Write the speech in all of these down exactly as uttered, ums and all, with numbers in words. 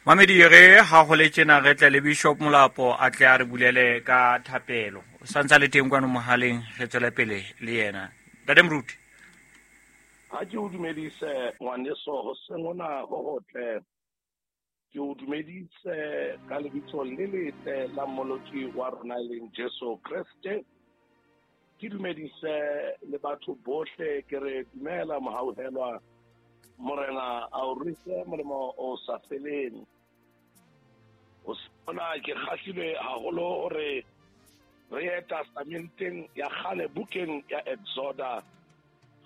Mamedi re ha ho le tjena re tle le Bishop Molapo a tle a re bulele ka thapelo. O santsa le teng kwano mohaleng re tswele pele le yena. Ntate Moruti. Ha ke o dumedise ngwaneso hoseng hona ho hotle. Ke o dumedise ka lebitso le letle la Mmoloki wa rona e leng Jesu Kreste. Ke dumedise le batho bohle ke re dumela mohauhelwa Morena a o ruise molemo o sa feleng. O sona ke kgahlilwe haholo hore re ye testamenteng ya kgale bukeng ya Exoda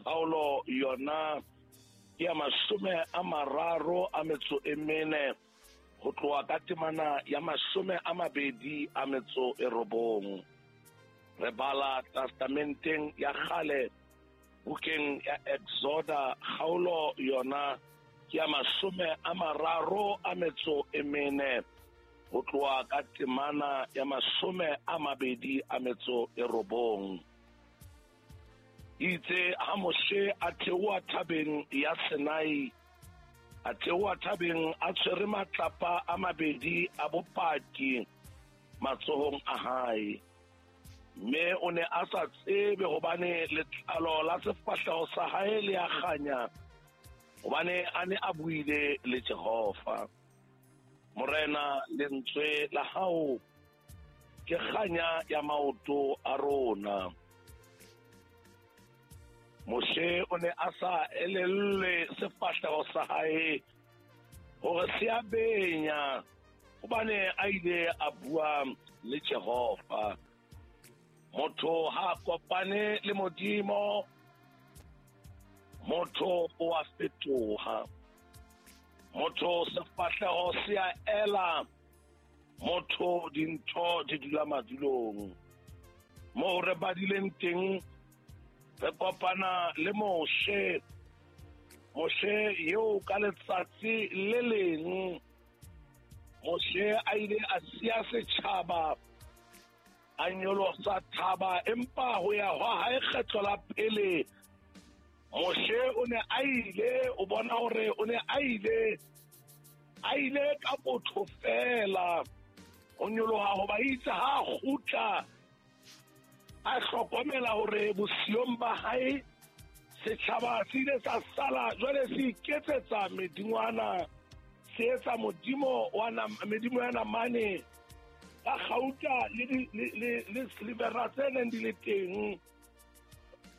kgaolo yona ke ya mashome a mararo a metso e mene ho tloha ka temana ya mashome a mabedi a metso e robong. Re bala testamenteng ya kgale bukeng ya Exoda kgaolo yona ke ya mashome a mararo a metso e mene ho tloha ka temana ya mashome a mabedi a metso e robong. Itse ha Moshe a theoha thabeng ya Sinai, a theoha thabeng a tshwere matlapa a mabedi a bopaki matsohong a hae. Mme o ne a sa tsebe hobane letlalo la sefahleho sa hae le a kganya, hobane a ne a buile le Jehova. Morena, lentswe la hao ke kganya ya maoto a rona. Moshe o ne a sa elellwe sefahleho sa hae hore se a benya, hobane a ile a bua le Jehova. Motho ha kopane le Modimo, motho o a fetoha. Motho sefahleho se a ela, motho dintho di dula madulong. Moo re badileng teng re kopana le Moshe. Moshe eo ka letsatsi le leng Moshe a ile a siya setjhaba, a nyolosa thaba, empa ho ya hwa hae kgetlo la pele Moshe o ne a ile, o bona hore o ne a ile, a ile ka botho fela ho nyoloha hoba itse ha kgutla a hlokomela hore bosiong ba hae setjhaba se ile sa sala jwale se iketsetsa medingwana, se etsa modimo wa medimo ya namane ka kgauta le le le silvera tse neng di le teng.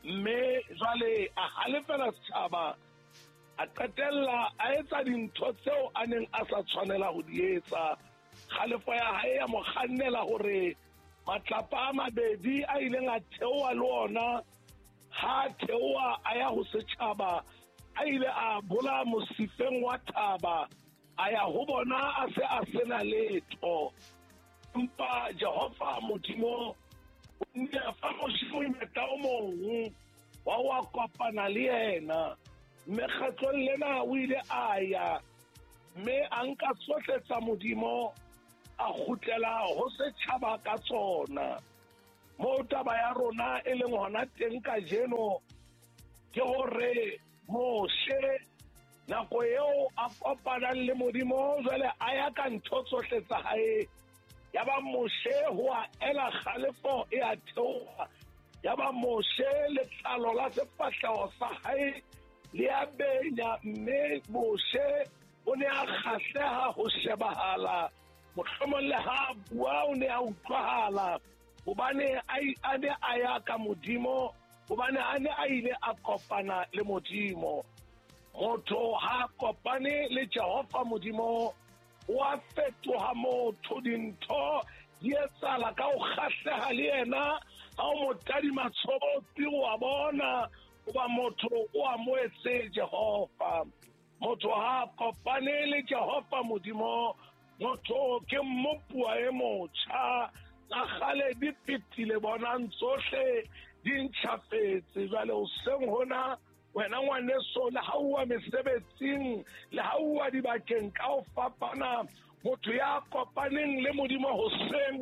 Mme jwale a halefela setjhaba, a qetella a etsa dintho tseo a neng a sa tshwanela ho di etsa. Kgalefo ya hae ya mo kgannela hore matlapa a mabedi a ileng a theoha le ona, ha theoha a ya ho setjhaba, a ile a bola mosifeng wa thaba, a ya ho bona a se a sena letho. Empa Jehova Modimo o ile a fa Moshe monyetla o mong wa ho kopana le yena. Mme kgetlong lena o ile a ya, mme a nka tsohle tsa Modimo a kgutlela ho setjhaba ka tsona. Moo taba ya rona e leng hona teng kajeno ke hore Moshe nako eo a kopanang le Modimo jwale a ya ka ntho tsohle tsa hae. Ya ba Moshe ho a ela kgalefo e a theoha, ya ba Moshe letlalo la sefahleho sa hae le a benya, mme Moshe o ne a kgahleha ho shebahala, mohlomong le ha bua o ne a utlwahala, hobane a ne a ya ka Modimo, hobane a ne a ile a kopana le Modimo. Motho ha kopane le Jehova Modimo o a fetoha motho, dintho di etsahala ka ho kgahleha le yena. Ha o mo tadima tshobotsi o a bona hoba motho o amohetse Jehova. Motho ha kopane le Jehova Modimo, motho ke mmopuwa e motjha. Tsa kgale di fetile, bonang tsohle di ntjhafetse. Jwale hoseng hona wena ngwaneso, le ha uwa mesebetsing, le ha uwa dibakeng ka ho fapana, motho ya kopaneng le Modimo hoseng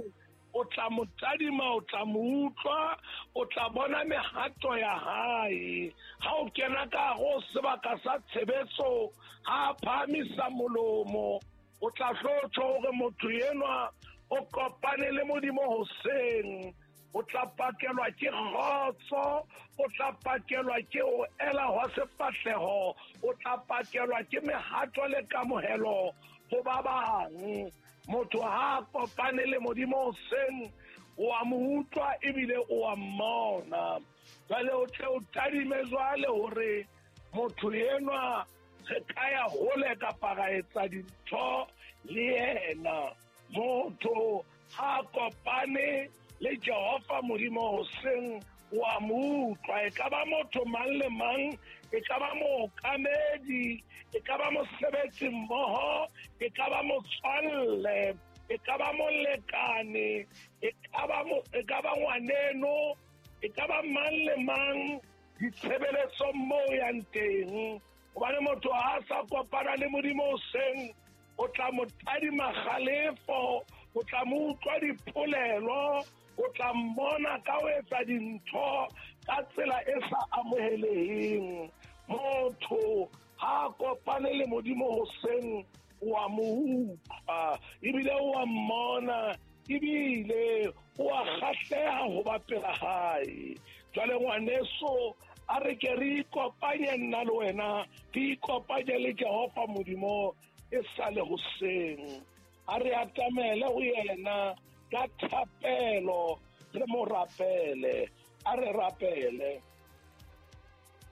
o tla mo tadima, o tla mo utlwa, o tla bona mehato ya hae. Ha o kena ka ho sebaka sa tshebetso, ha phahamisa molomo, O tla hlotjho hore motho enwa o kopane le Modimo hoseng. O tla pakelwa ke kgotso, o tla pakelwa ke ho ela hwa sefahleho, o tla pakelwa ke mehato le kamohelo ho ba bang. Motho ha kopane le Modimo hoseng, o a mo utlwa ebile o a mmona. Jwale o tle o tadime jwale hore motho enwa re ka ya hole kapa ra etsa dintho le yena. Motho ha kopane le Jehova Modimo hoseng, o a mo utlwa. E ka ba motho mang le mang, e ka ba mookamedi, e ka ba mosebetsi mmoho, e ka ba motswalle, e ka ba molekane, e ka ba e ka ba ngwaneno, e ka ba mang le mang ditshebeletsong moo yang teng. Hobane motho ha sa kopana le Modimo hoseng, o tla mo tadima kgalefo, o tla mo utlwa dipolelo, o tla mmona ka ho etsa dintho ka tsela e sa amoheleheng. Motho ha kopane le Modimo hoseng, o a mo utlwa ebile o a mmona ebile o a kgahleha ho ba pela hae. Jwale ngwaneso, a re ke re ikopanye nna le wena, re ikopanye le Jehova Modimo e sa le hoseng. A re atamele ho yena ka thapelo, re mo rapele. A re rapele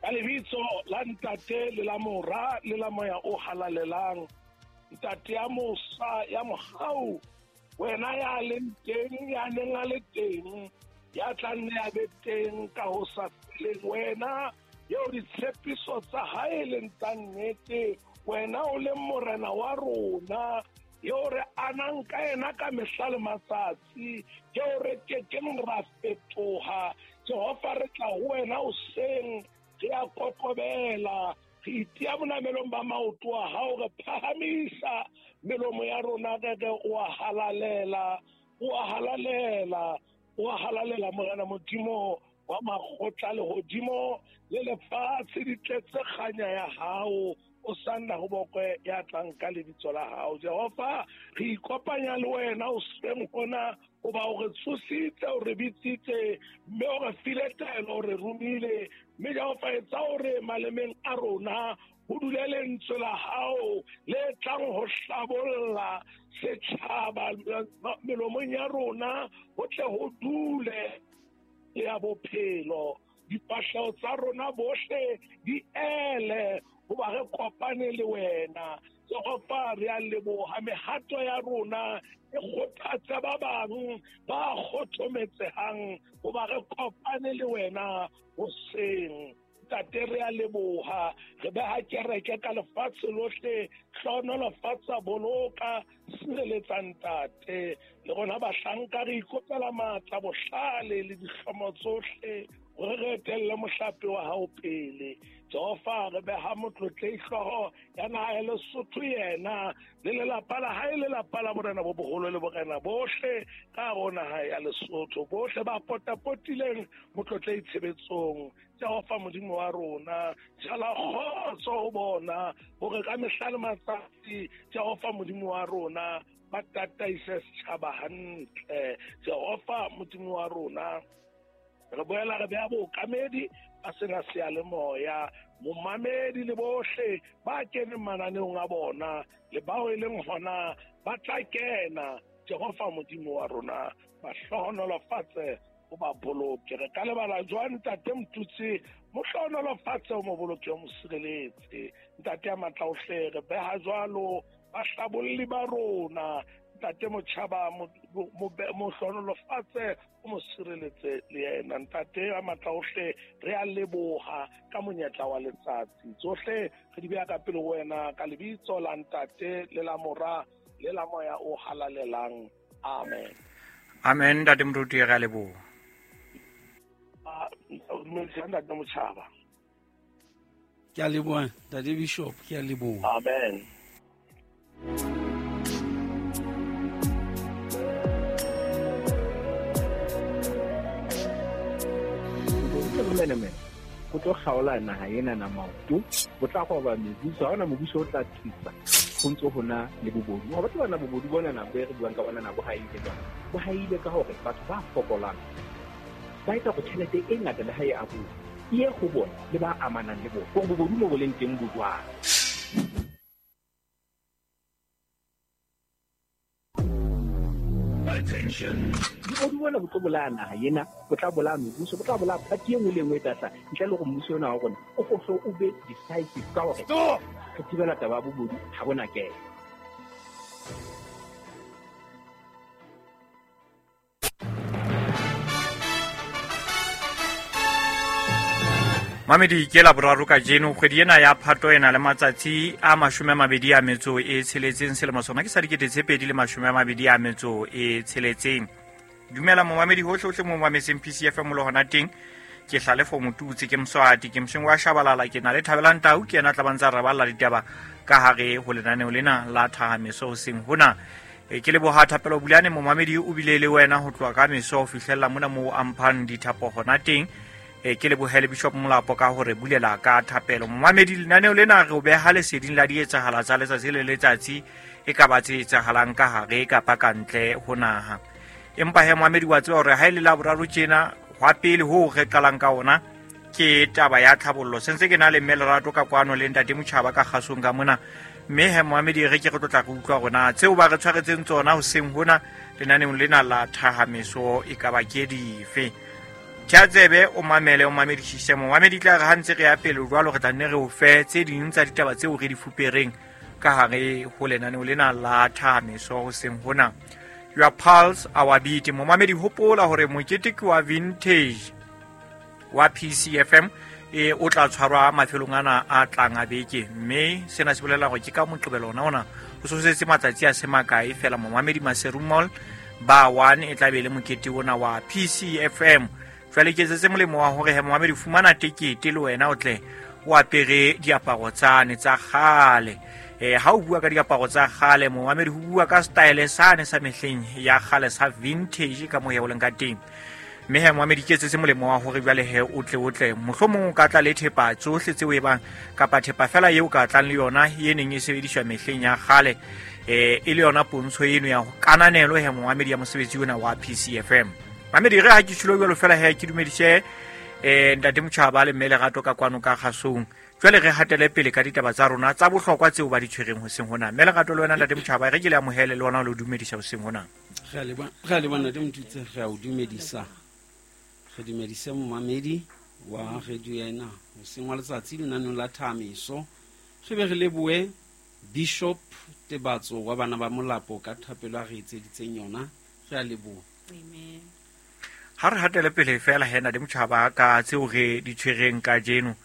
ka lebitso la Ntate le la Mora le la Moya o Halalelang. Ntate ya mosa ya mohau, wena ya leng teng, ya neng a le teng, ya tla nne a be teng ka ho sa feleng, wena eo ditshepiso tsa hae leng tsa nnete, wena o leng morena wa rona, eo re anang ka yena ka mehla le matsatsi, eo re kekeng ra fetoha. Jehova, re tla ho wena hoseng, re a kokobela, re itia bonamelong ba maoto a hao, re phahamisa melomo ya rona, re re o a halalela, o a halalela, o a halalela Morena Modimo wa makgotla lehodimo le lefatshe di tletse kganya ya hao. O sanna ho bokwe ya tlang ka lebitso la hao. Jehova, re ikopanya le wena hoseng hona, hoba o re tsositse, o re bitsitse, mme o re file taelo, o re romile. Mme Jehova, etsa hore malemeng a rona ho dule lentswe la hao le tlang ho hlabolla setjhaba, melomong ya rona ho tle ho dule ya bophelo. Dipahleho tsa rona bohle di ele hoba re kopane le wena. Jehova, re a leboha. Mehato ya rona e kgothatsa ba bang ba kgothometsehang hoba re kopane le wena hoseng. Ntate, re a leboha. Re beha kereke ka lefatshe lohle, hlohonolofatsa, boloka, sireletsa Ntate. Le rona bahlanka re ikopela matla, bohlale le dihlomo tsohle hore re etelle mohlape wa hao pele. Jehova, re beha motlotlehi hlooho ya naha ya Lesotho, yena le lelapa la hae, lelapa la borena bo boholo le borena bohle ka hare ho naha ya Lesotho, bohle ba potapotileng motlotlehi tshebetsong. Jehova Modimo wa rona, jala kgotso ho bona hore ka mehla le matsatsi Jehova Modimo wa rona ba tataise setjhaba hantle. Jehova Modimo wa rona, re boela re beha bookamedi ba sena seyalemoya, momamedi le bohle ba keneng mananeong a bona le bao e leng hona ba tla kena. Jehova Modimo wa rona, ba hlohonolofatse, o ba boloke. Re ka lebala jwang Ntate Motutsi? Mo hlohonolofatse, o mo boloke, o mo sireletse. Ntate ya matla ohle, re beha jwalo bahlabolli ba rona. Ntate Motjhaba, mo hlohonolofatse, o mo sireletse le yena. Ntate ya matla ohle, re a leboha ka monyetla wa letsatsi. Tsohle re di beha ka pele ho wena ka lebitso la Ntate le la Mora le la Moya o Halalelang. Amen. Amen. Ntate Moruti, re a leboha. Dumedisa Ntate Motjhaba. Ke a leboha Ntate Bishop, ke a leboha. Amen. Bomenemene go tlo kgaola naha ena na maoto, go tla goba mebuso, ha hona mobuso o tla thusa. ho ntso hona le bobodu. Wa batho bana bobodu bona na bo re buang ka bona na bo haile jwang. Bo haile ka hore batho ba fokolang ba etsa go tjhelete e ngata le ha e abuwa e ye go bona le ba amanang le bona. Gore bobodu mo bo leng teng bo jwang. Attention. Bobodu bona bo tlo bolaya naha ena, bo tla bolaya mebuso, bo tla bolaya party e nngwe le e nngwe e tla hlaha. Ntle le hore mmuso ona wa rona o fohle o be decisive ka hore re thibela taba ya bobodu ha bona kena. Mamedi ke la boraro kajeno kgwedi ena ya Phato ena le matsatsi a mashome a mabedi a metso e tsheletseng selemo sona ke sa dikete tse pedi le mashome a mabedi a metso e tsheletseng. Dumela momamedi hohle hohle mo mametseng P C F M le hona teng. Ke Hlalefo Motutsi ke Mswati ke Msheng wa Shabalala ke na le Thabelang Tau ke yena tla bantsa re balla ditaba ka hare ho lenaneo lena la Thahameso hoseng hona. E ke leboha Thapelo Bulane momamedi o bile le wena ho tloha ka meso ho fihlella mona moo a mphang dithapo hona teng. E ke lebohele Bishop Molapo ka hore bulela ka thapelo. Momamedi lenaneo lena re o beha leseding la dietsahala tsa letsatsi le letsatsi e ka ba tse etsahalang ka hare kapa ka ntle ho naha. Empa he momamedi wa tseba hore ha e le la boraro tjena hwa pele ho re qalang ka ona ke taba ya tlhabollo. Sentse ke na le mme Lerato ka kwano le ntate Motjhaba ka kgasong ka mona. Mme he momamedi re ke re tlotla re utlwa rona tseo ba re tshwaretseng tsona hoseng hona lenaneong lena la Thahameso e ka ba ke dife. Tjhatsebe o mamele o mamedisise momamedi tla re ha ntse re ya pele jwalo re tla nne re o fe tse ding tsa ditaba tseo re di fupereng ka hare ho lenaneo lena la Thahameso hoseng hona. Your pulse our beat. Momamedi hopola hore mokete ke wa vintage wa P C F M e o tla tshwarwa mafelong ana a tlang a beke mme sena se bolela hore ke ka Moqebelo ona ona ho sosetse matsatsi a se makae fela momamedi Maseru Mall ba one e tla be le mokete ona wa P C F M. Jwale ke tsetse molemo wa hore he momamedi fumana tekete le wena o tle o apere diaparo tsane tsa kgale. Eh ha o bua ka diaparo tsa kgale momamedi ho bua ka style sane sa mehleng ya kgale sa vintage ka moya o leng ka teng. Mme he momamedi ke tsetse molemo wa hore jwale he o tle o tle mohlomong o ka tla le thepa tsohle tseo e bang kapa thepa fela eo ka tlang le yona e neng e sebediswa mehleng ya kgale eh e le yona pontsho eno ya kananelo he momamedi ya mosebetsi ona wa P C F M. Mamedi re ha ke tshilo jwalo fela he ke dumedise eh ntate Motjhaba le mme Lerato ka kwano ka kgasong. Jwale re hatele pele ka ditaba tsa rona tsa bohlokwa tseo ba di tshwereng hoseng hona. Mme Lerato le wena ntate Motjhaba re ke le amohele le wena o le dumedisa hoseng hona. Re a leboha, re a leboha ntate Motutsi, re a o dumedisa. Re dumedise momamedi wa radio ena hoseng wa letsatsi lenaneong la Thahameso. Re be re lebohe Bishop Tebatso wa bana ba Molapo ka thapelo a re etseditseng yona. Re a leboha. Amen. Ha re hatele pele fela he ntate Motjhaba ka tseo re di tshwereng kajeno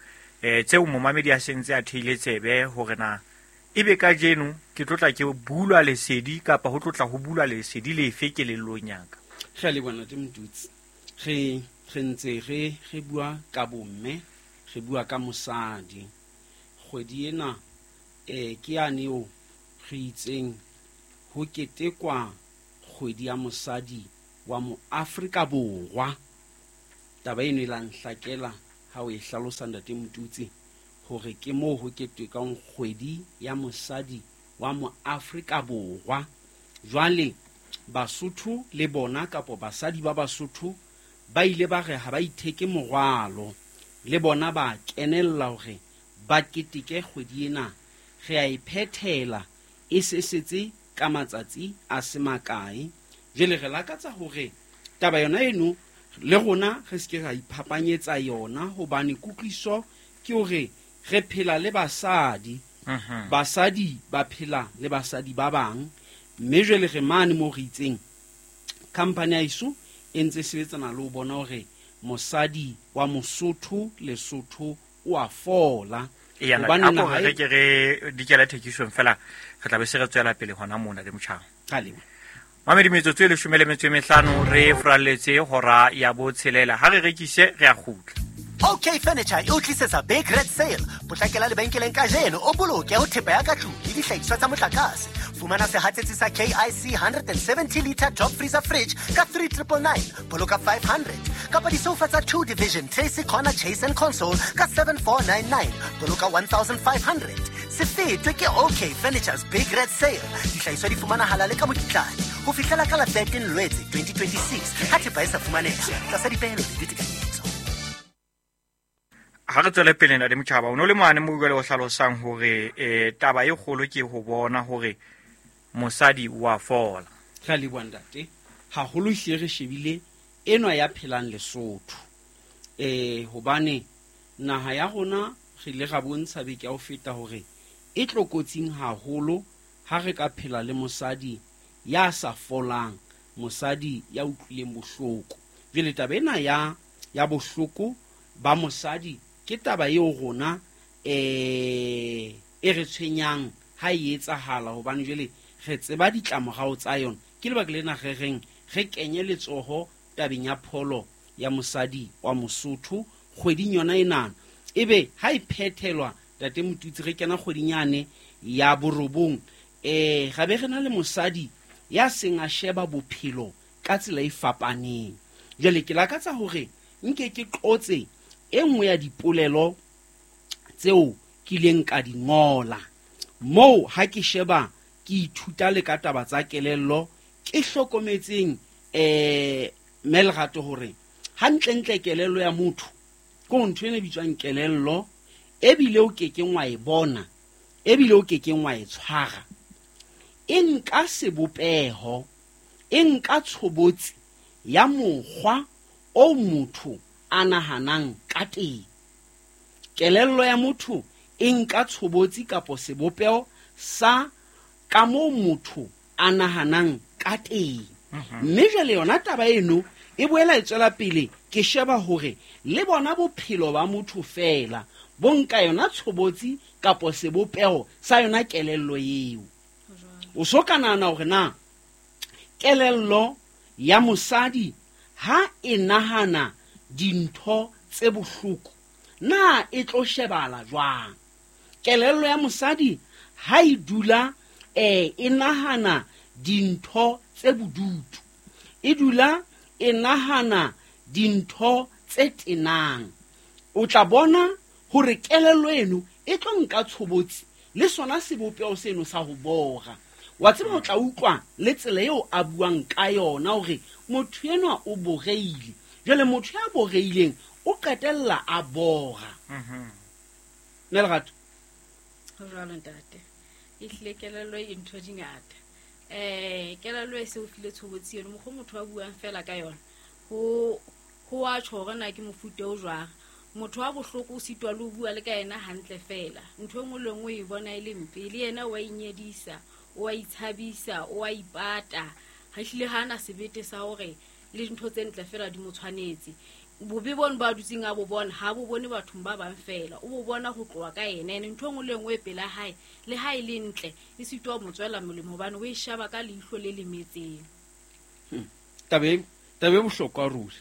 eh tseo momamedi a sentse a theile tsebe hore na ebe kajeno ke tlotla ke bulwa lesedi kapa ho tlotla ho bulwa lesedi lefe kelellong ya ka. Re a leboha ntate Motutsi. Re re ntse re re bua ka bomme, re bua ka mosadi. Kgwedi ena eh ke yane eo re itseng ho ketekwa kgwedi ya mosadi wa mo Afrika Borwa. Taba eno e la nhlakela ha o e hlalosa ntate Motutsi hore ke moo ho ketekang kgwedi ya mosadi wa mo Afrika Borwa. Jwale Basotho le bona kapo basadi ba Basotho ba ile ba re ha ba itheke morwalo le bona ba kenella hore ba keteke kgwedi ena. Re a e phethela e sesetse ka matsatsi a se makae. Jwale re lakatsa hore taba yona eno le rona re se ke ra iphapanyetsa yona hobane kutlwiso ke hore re phela le basadi. Basadi ba phela le basadi ba bang mme jwale re mane mo re itseng company ya iso e ntse sebetsana le ho bona hore mosadi wa Mosotho Lesotho o a fola. Hobane naha re ke re dikela thekisong fela re tla be se re tswela pele hona mona le Motjhaba. Mamedi metsotso e leshome le metso e mehlano re fralletse hora ya botshelela. Ha re rekise re a kgutla. OK Furniture e o tlisetsa Big Red Sale. Potlakela lebenkeleng kajeno o boloke ho thepa ya ka tlung le dihlahiswa tsa motlakase. Fumana sehatsetsi sa K I C one seventy liter top freezer fridge ka three triple nine, boloka five hundred. Kapa disofa tsa two division Tracy Corner Chase and Console ka seven four nine nine, boloka one thousand five hundred. Se fetwe ke OK Furniture's Big Red Sale. Dihlahiswa di fumanahala le ka mokitlane ho fihlela ka la thirteen Lwetse twenty twenty-six. Ha thepa e sa fumaneha tlasa dipehelo le ditekanyetso. Ha re tswele pele ntate Motjhaba, o no le mane mo jwale o hlalosang hore eh taba e kgolo ke ho bona hore mosadi wa fola. Re a leboha ntate. Haholo hle re shebile enwa ya phelang Lesotho. Eh hobane naha ya rona re ile ra bontsha beke ya ho feta hore e tlokotsing haholo ha re ka phela le mosadi ya sa folang, mosadi ya utlwileng bohloko. Jwale taba ena ya ya bohloko ba mosadi ke taba eo rona eh e re tshwenyang ha e etsahala, hobane jwale re tseba ditlamorao tsa yona. Ke lebaka lena re reng re kenye letsoho tabeng ya pholo ya mosadi wa Mosotho kgweding yona enana. Ebe ha e phethelwa ntate Motutsi, re kena kgweding yane ya borobong, eh ga be re na le mosadi ya seng a sheba bophelo ka tsela e fapaneng. Jwale ke lakatsa hore nke ke qotse e nngwe ya dipolelo tseo ke ileng ka di ngola moo ha ke sheba ke ithuta le ka taba tsa kelello, ke hlokometseng eh Melrato hore hantlentle kelello ya motho ke ntho ena e bitswang kelello, ebile o kekeng wa e bona, ebile o kekeng wa e tshwara. E nka sebopeho, e nka tshobotsi ya mokgwa o motho a nahanang ka teng. Kelello ya motho e nka tshobotsi kapo sebopeho sa ka moo motho a nahanang ka teng. Mme jwale yona taba eno e boela e tswela pele, ke sheba hore le bona bophelo ba motho fela bo nka yona tshobotsi kapo sebopeho sa yona kelello eo. O so ka nahana hore na kelello ya mosadi ha e nahana dintho tse bohloko na e tlo shebala jwang. Kelello ya mosadi ha e dula eh e nahana dintho tse bodutu, e dula e nahana dintho tse tenang, o tla bona hore kelello eno e tlo nka tshobotsi le sona sebopeho seno sa ho bora. Wa tseba o tla utlwa le tsela eo a buang ka yona hore motho enwa o boreile. Jwale motho ya boreileng o qetella a bora. Mhm. Melrato. Ho jwalo ntate. E hlile kelello e ntho di ngata. Eh kelello e se o file tshobotsi eno, mokgwa motho a buang fela ka yona. Ho ho a tjho hore na ke mofuta o jwang. Motho wa bohloko o sitwa le ho bua le ka yena hantle fela. Ntho e nngwe le nngwe e bona e le mpe, le yena o a inyedisa, o a itshabisa, o a ipata. Ha hlile ha ana sebete sa hore le dintho tse ntle fela di mo tshwanetse. Bobe bono ba dutseng a bo bona, ha bo bone bathong ba bang fela, o bo bona ho tloha ka yena. Ene ntho e nngwe le nngwe e pela hae, le ha e le ntle, e sitwa ho mo tswela molemo hobane o e shaba ka leihlo le lemetseng. Hmm. Taba e taba e bohlokwa ruri.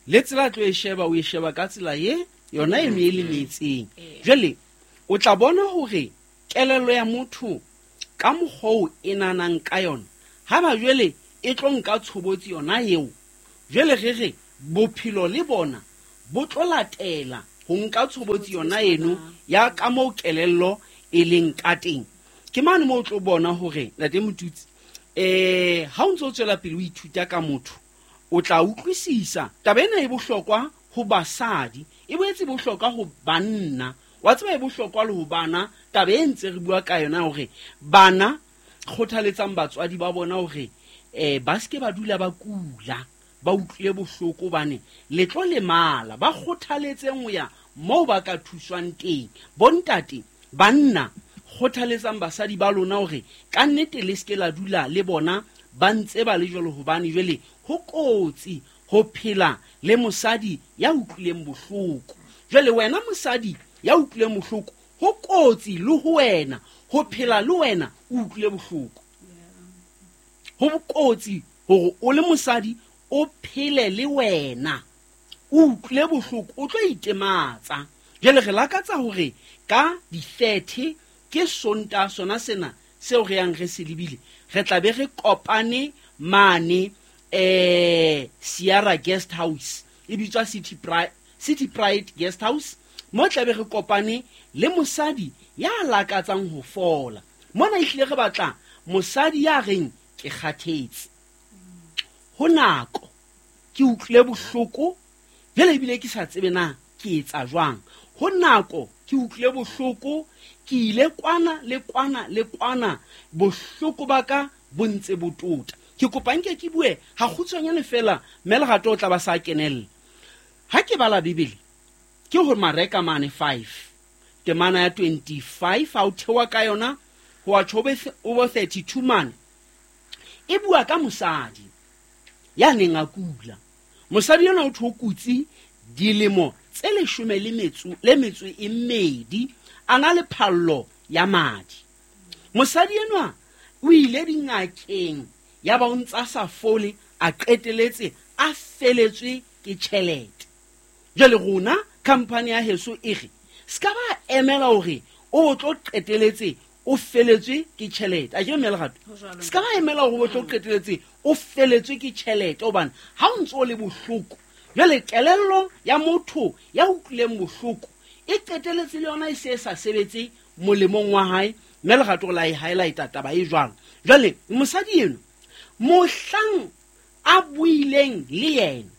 Le tsela tlo e sheba, o e sheba ka tsela ye yona eno e lemetseng. Jwale o tla bona hore kelello ya motho ka mokgwa oo e nahanang ka yona, ha ba jwale e tlo nka tshobotsi yona eo. Jwale re re bophelo le bona bo tlo latela ho nka tshobotsi yona eno ya ka moo kelello e leng ka teng. Ke mane moo o tlo bona hore ntate Motutsi, eh ha o ntso tswela pele o ithuta ka motho, o tla utlwisisa taba ena e bohlokwa ho basadi, e boetse bohlokwa ho banna. Wa tseba e bohlokwa le ho bana. Taba e ntse re bua ka yona hore bana kgothaletsang batswadi ba bona hore eh ba seke ba dula ba kula, ba utlwile bohloko hobane le tlo lemala. Ba kgothaletseng ho ya moo ba ka thuswang teng. Bontate, banna, kgothaletsang basadi ba lona hore ka nnete le seke la dula le bona ba ntse ba le jwalo, hobane jwale ho kotsi ho phela le mosadi ya utlwileng bohloko. Jwale wena mosadi ya utlwileng bohloko, ho kotsi le ho wena ho phela le wena o utlwile bohloko. Ho kotsi hore o le mosadi o phele le wena o utlwile bohloko, o tlo itematsa. Jwale re lakatsa hore ka di-thirty ke Sontaha sona sena seo re yang re se lebile, re tla be re kopane mane eh Sierra Guest House, e bitswa City Pride, City Pride Guest House Mo tlabe re kopane le mosadi ya lakatsang ho fola. Mona ehlile re batla mosadi ya reng ke kgathetse. Ho nako ke utlwile bohloko, jwale ebile ke sa tsebe na ke etsa jwang. Ho nako ke utlwile bohloko, ke ile kwana le kwana le kwana, bohloko ba ka bo ntse bo tota. Ke kopa nke ke bue ha kgutshwanyane fela, mme Lerato o tla ba sa kenella. Ha ke bala Bibele ke ho Mareka mane five temana ya twenty-five ha o thewa ka yona ho a tjho o thirty-two mane, e bua ka mosadi ya neng a kula. Mosadi yona o thokutsi dilemo tse leshome le metso le metso e mmedi, a na le phallo ya madi. Mosadi enwa o ile dingakeng, ya ba o ntsa sa fole, a qeteletse a feletswe ke tjhelete. Jwale rona company ya heso e re ska ba emela hore o tlo qeteletse o feletswe ke tjhelete. A ke mme Lerato, ska ba emela hore o tlo qeteletse o feletswe ke tjhelete, hobane ha o ntso le bohloko, jwale kelello ya motho ya utlwileng bohloko e qeteletse le yona e se sa sebetse molemong wa hae. Mme Lerato la e highlight-a taba e jwalo. Jwale mosadi eno mohlang a buileng le yena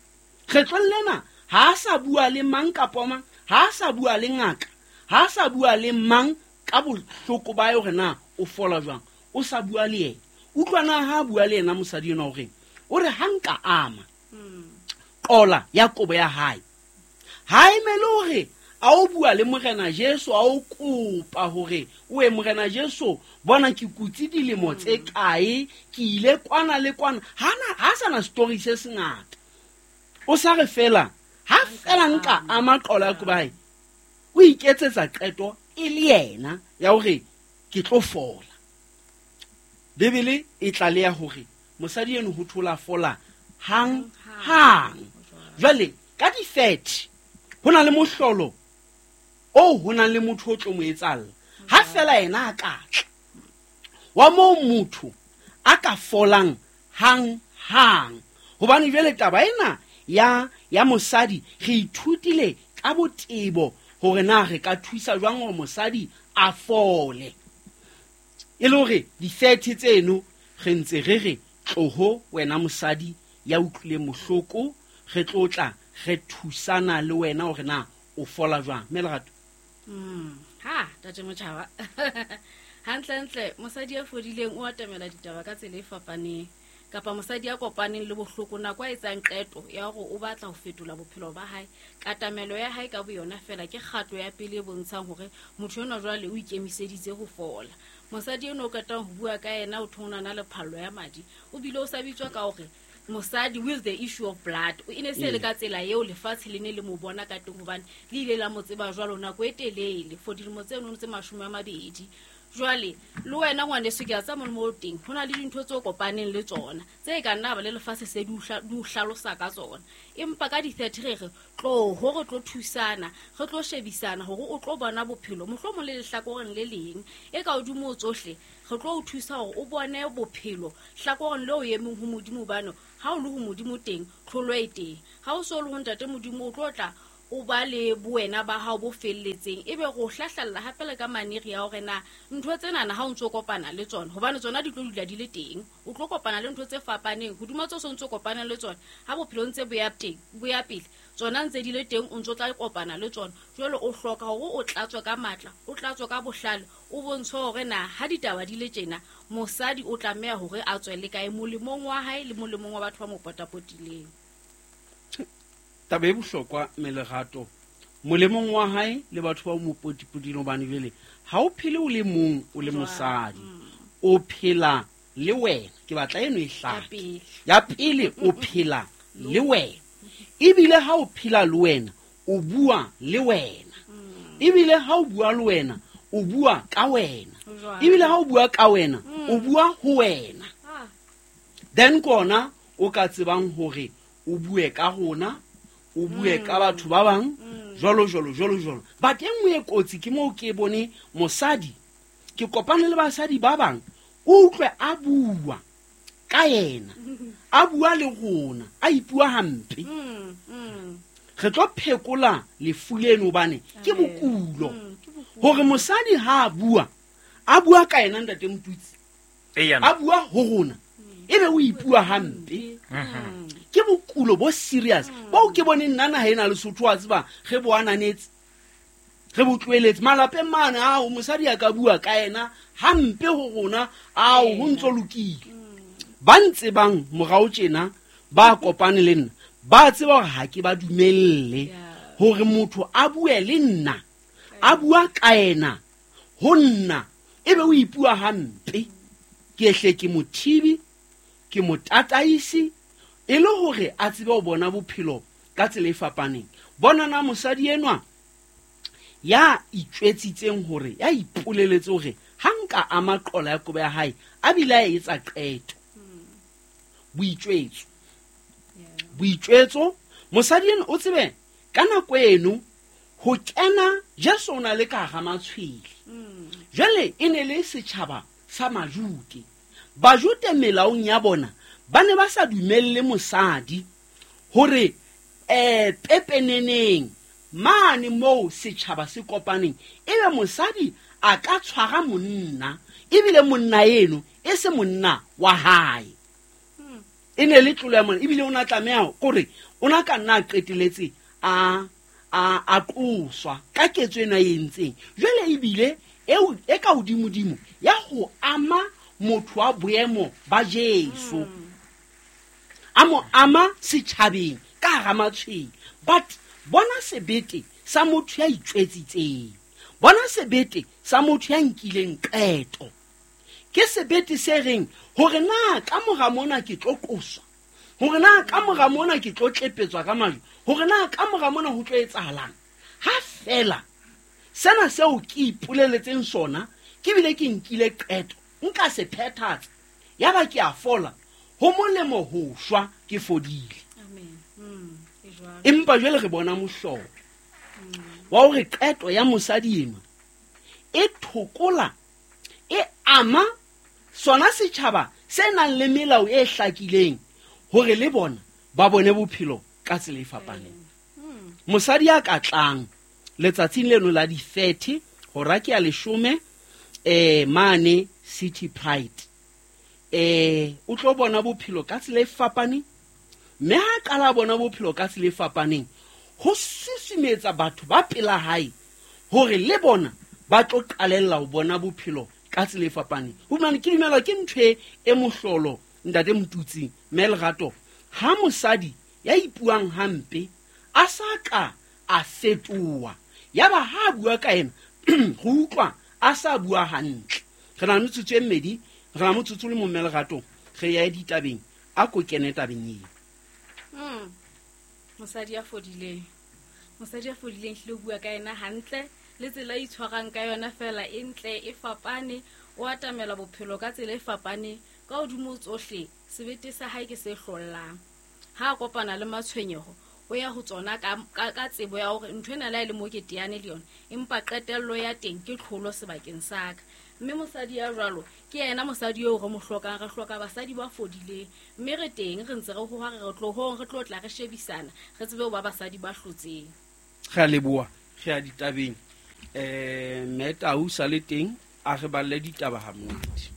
kgetlong lena, ha a sa bua le mang kapa mang, ha a sa bua le ngaka, ha a sa bua le mang ka bohloko ba hore na o fola jwang, o sa bua le yena. Utlwana ha a bua le yena mosadi ena o reng? O re ha nka ama qola ya kobo ya hae, ha emele hore a o bua le Morena Jesu, a o kopa hore o e Morena Jesu bona ke kutse dilemo tse kae, ke ile kwana le kwana. Hana ha sana story se sengata, o sa re fela ha fela nka ama qola ya kobo ya hae, o iketsetsa qeto e le yena ya hore ke tlo fola. Bibele e tlaleha hore mosadi eno ho thola fola hang hang. Jwale ka di-thirty ho na le mohlolo o ho na le motho o tlo mo etsalla. Ha fela yena a ka tla wa moo motho a ka folang hang hang. Hobane jwale taba ena ya ya mosadi re ithutile ka botebo hore na re ka thusa jwang hore mosadi a fole. E le hore di-thirty tseno re ntse re re tloho wena mosadi ya utlwileng bohloko, re tlo tla re thusana le wena hore na o fola jwang. Mme Lerato. Mm. Ha, tate Motjhaba. Hantlentle mosadi ya fodileng o atamela ditaba ka tsela e fapaneng, kapa mosadi ya kopaneng le bohloko nako a etsang qeto ya hore o batla ho fetola bophelo ba hae, katamelo ya hae ka boyona fela ke kgato ya pele e bontshang hore motho enwa jwale o ikemiseditse ho fola. Mosadi eno o qetang ho bua ka yena o thonana na le phallo ya madi, o bile o sa bitswa ka hore mosadi with the issue of blood. O ene se le ka tsela eo lefatshe le ne le mo bona ka teng, hobane le ile la mo tseba jwalo nako e telele for dilemo tse nno tse mashome a mabedi. Jwale le wena ngwaneso ke a tsa mo teng, ho na le dintho tse kopaneng le tsona tse ka nna ba le lefatshe se di o hlalosa ka tsona, empa ka di-thirty re re tlo ho re tlo thusana, re tlo shebisana hore o tlo bona bophelo mohlomong le lehlakoreng le leng e ka hodimo ho tsohle. Re tlo o thusa hore o bone bophelo hlakoreng leo o emeng ho Modimo, hobane ha o le ho Modimo teng tlholo e teng. Ha o so le ho Ntate Modimo o tlo tla o ba le bowena ba hao bo felletseng, ebe go hlahlalla hape le ka maneri ya hore na ntho tsenana ha o ntso kopana le tsona, hobane tsona di tlo dula di le teng. O tlo kopana le ntho tse fapaneng hodima tso so ntso kopana le tsona. Ha bophelo ntse bo ya teng, bo ya pele, tsona ntse di le teng, o ntso tla kopana le tsona. Jwale o hloka hore o tlatswe ka matla, o tlatswe ka bohlale, o bontshe hore na ha ditaba di le tjena mosadi o tlameha hore a tswele kae molemong wa hae le molemong wa batho ba mo potapotileng. Taba e bohlokwa mme Lerato, molemong wa hae le batho ba mo potipotileng, hobane jwale ha o phele o le mong o le mosadi, o phela le wena. Ke batla eno e hlake ya pele, o phela le wena, ebile ha o phela le wena o bua le wena, ebile ha o bua le wena o bua ka wena, ebile ha o bua ka wena o bua ho wena. Then kona o ka tsebang hore o bue ka rona, o bue ka batho ba bang, jwalo jwalo jwalo jwalo. But e nngwe e kotsi ke moo ke bone mosadi, ke kopane le basadi ba bang, o utlwe a bua ka yena, a bua le rona, a ipua hampe. Re tlo phekola lefu leno hobane ke bokulo. Hore mosadi ha a bua, a bua ka yena ntate Motutsi. A bua ho rona. Ebe o ipua hampe. Ke bokulo bo serious. Bo ke bone nna naha ena Lesotho a tseba re bo ananetse. Re bo tlohelletse malapeng mane ao mosadi a ka bua ka yena hampe ho rona ao ho ntso lokile. Ba ntse bang morao tjena ba kopane le nna ba tseba hore ha ke ba dumelle hore motho a bue le nna a bua ka yena ho nna ebe o ipua hampe. Ke hle ke mothibi ke motataisi e le hore a tsebe ho bona bophelo ka tsela e fapaneng. Bona na mosadi enwa ya itjwetsitseng hore ya ipoleletse hore ha nka ama qola ya kobo ya hae a bile a etsa qeto. Boitjwetso. Boitjwetso mosadi eno o tsebe ka nako eno ho kena Jesu o na le ka hara matshwele. Jwale e ne le setjhaba sa Majute. Bajute melaong ya bona ba ne ba sa dumelle mosadi hore eh pepeneneng mane moo setjhaba se kopaneng ebe mosadi a ka tshwara monna ebile monna eno e se monna wa hae. E ne le tlolo ya monna ebile o na tlameha kore o na ka nna qeteletse a a a qoswa ka ketso ena e entseng. Jwale ebile eo e ka hodimodimo ya ho ama motho wa boemo ba Jesu. A mo ama setjhabeng ka hara matshwele. But bona sebete sa motho ya itjwetsitseng. Bona sebete sa motho ya nkileng qeto. Ke sebete se reng hore na ka mora mona ke tlo qoswa, hore na ka mora mona ke tlo tlepetswa ka majwe, hore na ka mora mona ho tlo etsahalang. Ha fela sena seo ke ipoleletseng sona ke bile ke nkile qeto nka se phethatsa yaba ke a fola, ho molemo ho shwa ke fodile. Amen. Mm, e jwalo. Empa jwale re bona mohlolo wa hore qeto ya mosadi enwa e thokola e ama sona setjhaba se nang le melao e hlakileng hore le bona ba bone bophelo ka tsela e fapaneng. Mosadi ya ka tlang letsatsing leno la di thirty hora ke ya leshome eh mane City Pride eh o tlo bona bophelo ka tsela e fapaneng, mme ha qala bona bophelo ka tsela e fapaneng ho susumetsa batho ba pela hae hore le bona ba tlo qalella ho bona bophelo ka tsela e fapaneng. Hobane ke dumela ke ntho e mohlolo ntate Motutsi mme Lerato ha mosadi ya ipuang hampe a sa ka a fetoha yaba ha bua ka ena go utlwa a sa bua hantle. Re na le metsotso e mmedi, re na motsotso le momme Lerato re ya ditabeng a ko kene tabeng eo. Mm. Mosadi ya fodileng. Mosadi ya fodileng hlile o bua ka ena hantle le tsela e itshwarang ka yona fela e ntle e fapane, o atamela bophelo ka tsela e fapane ka hodimo tsohle sebete sa hae ke se hlollang. Ha a kopana le matshwenyeho o ya ho tsona ka ka tsebo ya hore ntho ena la e le mo ke teane le yona empa qetello ya teng ke tlholo sebakeng sa ka. Mme mosadi ya jwalo ke yena mosadi eo re mo hlokang, re hloka basadi ba fodileng mme re teng re ntse re hoha re tlohong re tlo tla re shebisana re tsebe ho ba basadi ba hlotseng. Re a leboha, re a ditabeng. Eh Meta o sa le teng a re balle ditaba ha monate.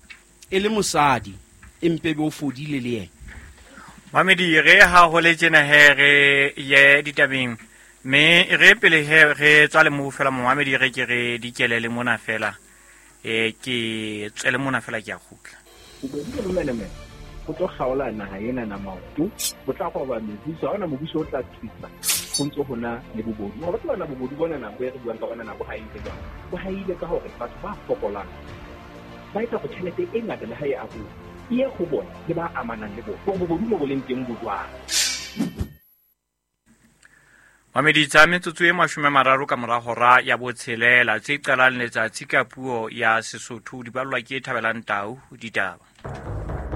E le mosadi empe be o fodile le yena. Mamedi re ha ho le tjena he re ye ditabeng mme re pele he re tswa le mo fela momamedi re ke re dikelele mona fela e ke tswele mona fela ke a kgutla. Bobodu le bomenemene go tlo kgaola naha ena na maoto, bo tla roba mebuso, ha hona mobuso o tla thusa ho ntso hona le bobodu. Wa tseba na bobodu bona na bo re buang ka bona na bo haile jwang? Bo haile ka hore batho ba fokolang ba etsa hore tjhelete e ngata le ha e abuwa e ye ho bona le ba amanang le bona. Hore bobodu mo bo leng teng bo jwang. Mamedi tsa metsotso e mashome a mararo ka mora hora ya botshelela tse qalang letsatsi ka puo ya Sesotho di ballwa ke Thabelang Tau ditaba.